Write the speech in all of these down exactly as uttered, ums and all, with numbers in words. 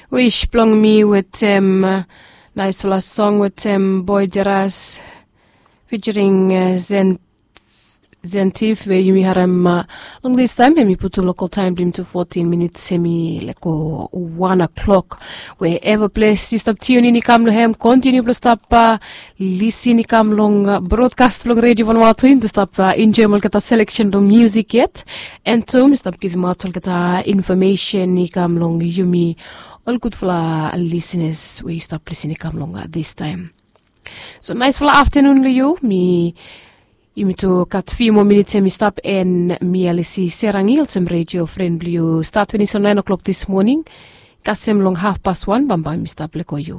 Wis blong mi wetem naisfala song wetem Boy Jeras featuring Zentif we yumi harem long distaem, hemi putum lokal taem blong yumi tu fotin minits hemi leko wan klok. We eva ples yu stap tiunin i kam long hem, kontiniu blong stap lisin i kam long brodkas blong redio vanua tu yumi tu stap enjoem olgeta seleksen blong musik yet. An tu mi stap givimaot olgeta infomesen i kam long yumi ol gudfala lisinas we yu stap lisin i kam long distaem. So naisfala aftanun long yu. Mi yumi tu gat fiu moa minits hemi stap an mi alisi serangi olsem redio fren blong yu stat finis long naen oklok dis moning kasem long hafpas wan bambae mi stap leko yu.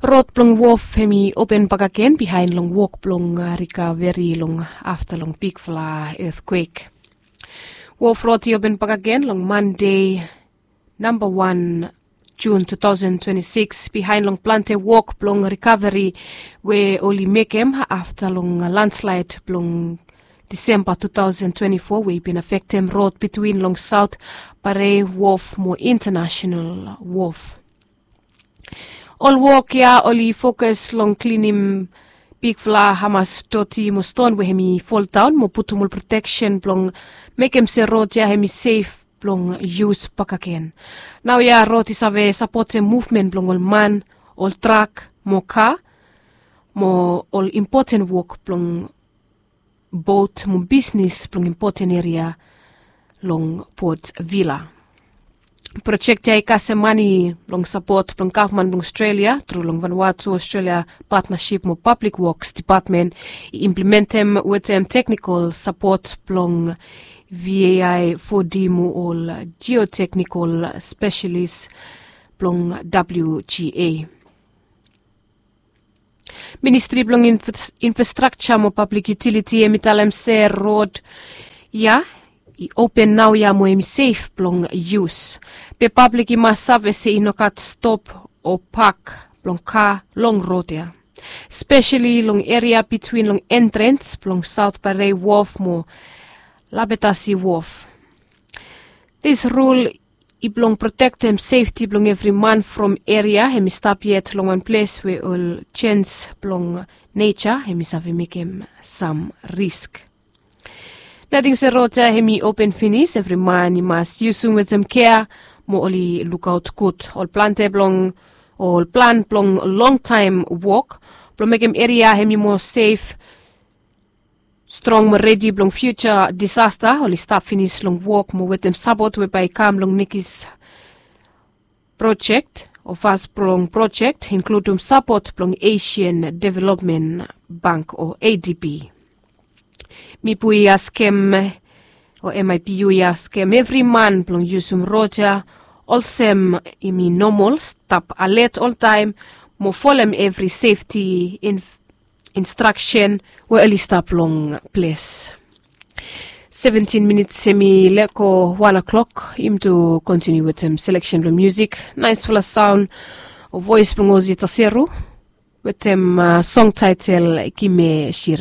Rod blong wof hemi open bakegen bihaen long wok blong rikaveri long afta long bigfala etkwek. Wof rod i open bakegen long Mande namba wan Jun tu taosen twenti sikis bihaen long plante wok blong rikaveri we oli mekem afta long landslaed blong Disemba tu taosen twenti fo we i bin afektem rod bitwin long Saot Bare Wof mo Intanasenal Wof. Ol wok ya oli fokas long klinim bigfala hamas doti mo ston we hemi foldaon mo putum ol proteksen blong mekem se rod ya hemi sef blong yus bakegen. Naoia rod i save sapotem muvmen blong ol man, ol trak mo ka mo ol impoten wok blong bot mo bisnis blong impoten eria long Port Vila. Projek ya i kasem mane blong sapot blong gavman blong Aostralia tru long Vanuatu Aostralia Patnasip mo Pablik Woks Dipatmen i implementem wetem teknikol sapot blong V A I fo D mo ol jioteknikol spesialis blong W G A. Ministri blong Infrastrakja mo Pablik Yutiliti hemi talem se rod ya i open naoia mo hemi sef blong yus. Be pablik i mas save se i no gat stop o pak blong ka long rod ya, speseli long eria bitwin long entrens blong Saot Bare Wof mo Lapetasi Wof. Dis rul i blong protektem sefti blong evri man from eria hemi stap yet long wan ples we ol jens blong neja hemi save mekem sam risk. Nating se rod ya hemi open finis, evri man i mas yusum wetem kea mo oli lukaot gud. Ol plante blong ol plan blong longtaem wok blong mekem eria hemi moa sef, strong mo redi blong fiuja disasta oli stap finis long wok mo wetem sapot we bae i kam long nekis projek o fas blong projek, inkludum sapot blong Asian Development Bank o A D B. Mipu i askem o M I P U i askem evri man blong yusum rod ya olsem i mi nomol, stap alet oltaem mo folem evri sefti instraksen we oli stap long ples. Seventin minits hemi leko wan klok. Yumi tu kontiniu wetem seleksen blong musik. Naesfala saon o voes blong Ozi Taseru wetem song taetel Kime Shira.